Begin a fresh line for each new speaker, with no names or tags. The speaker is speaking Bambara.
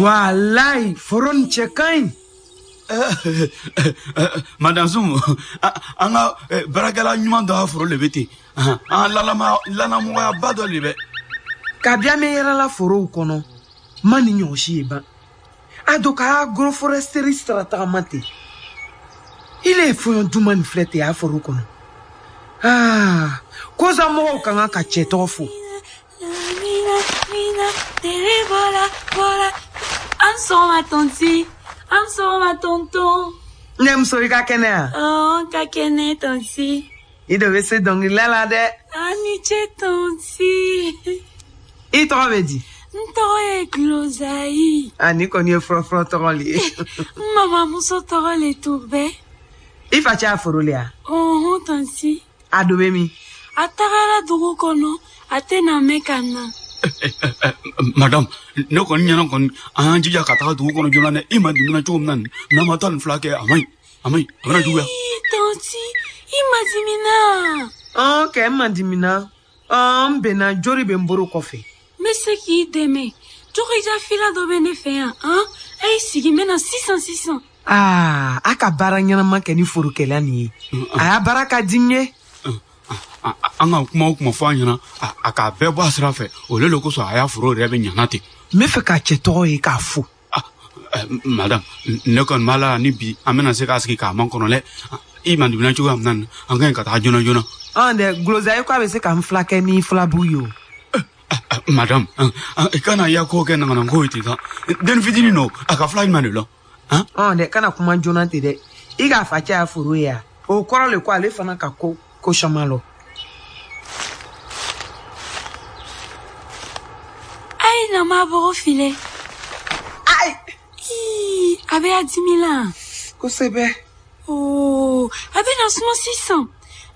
Walayi, foro nin cɛ ka ɲi.
Madame Soum, an ka baarakɛla ɲuman dɔ ka foro le bɛ ten. An ka lanamɔgɔyaba dɔ le bɛ.
Kabi an bɛ yɛrɛla forow kɔnɔ, ma ni ɲɔgɔn si ye ban. A don ka agroforesterie sira tagama ten. Ile ye fɔɲɔ duman nin filɛ ten a foro kɔnɔ. Aa, kosa mɔgɔw ka kan ka cɛ tɔgɔ fo.
An sɔgɔma tonti. An sɔgɔma tonton.
Ne muso i ka kɛnɛ yan?
Ɔ, ka kɛnɛ tonti.
I de bɛ se dɔnkilida la dɛ.
An ni ce tonti.
I tɔgɔ bɛ di?
N tɔgɔ ye Glozayi.
A nin kɔni ye fɔlɔfɔlɔ tɔgɔ le ye.
N mamamuso tɔgɔ le tun bɛ.
I facɛ y'a foro le ya?
Ɔhɔn tonti.
A do bɛ min?
A tagara dugu kɔnɔ, a tɛna mɛn ka na.
Madame, ne kɔni ɲɛna kɔni an y'an jija ka taga dugu kɔnɔ joona dɛ. I ma dimina cogo min na nin, n'an ma taa nin fila kɛ, a man ɲi, a man ɲi, a bɛna juguya.
Tonti, i ma dimina.
Ɔn, kɛ n ma dimina. Ɔn, n bɛnna jori bɛ n bolo kɔfɛ.
N bɛ se k'i dɛmɛ. Jogija fila dɔ bɛ ne fɛ yan, han? A y'i sigi, n bɛ na sisan sisan.
Aa, a ka baara ɲɛnama kɛ ni forokɛla nin ye. A y'a baara ka di n ye.
An ka kuma o kuma fɔ a ɲɛna, a k'a bɛɛ bɔ a sira fɛ. O le kosɔn a y'a foro yɛrɛ bɛ ɲana ten.
N bɛ fɛ k'a cɛ tɔgɔ ye k'a fo.
Madame, ne kɔni b'a la ni bi an bɛna se k'a sigi k'a makɔnɔ dɛ. I man dimina cogoya min na, an ka ɲi ka taga joona joona.
Ɔn dɛ, Glozayi ko a bɛ se ka n fila kɛ ni filabu ye o.
Madame, i kana ya ko kɛ nangananko ye ten sa. Den fitinin don, a ka fila jumɛn de lɔn?
Ɔn dɛ, kana kuma joona ten dɛ. I k'a facɛ y'a foro ye yan. O kɔrɔ le ko ale fana ka ko ko caman lɔ.
A ye na ma bɔgɔ filɛ.
Ayi.
Ii, a bɛ a dimi la.
Kosɛbɛ.
Oo, a bɛ na suma sisan.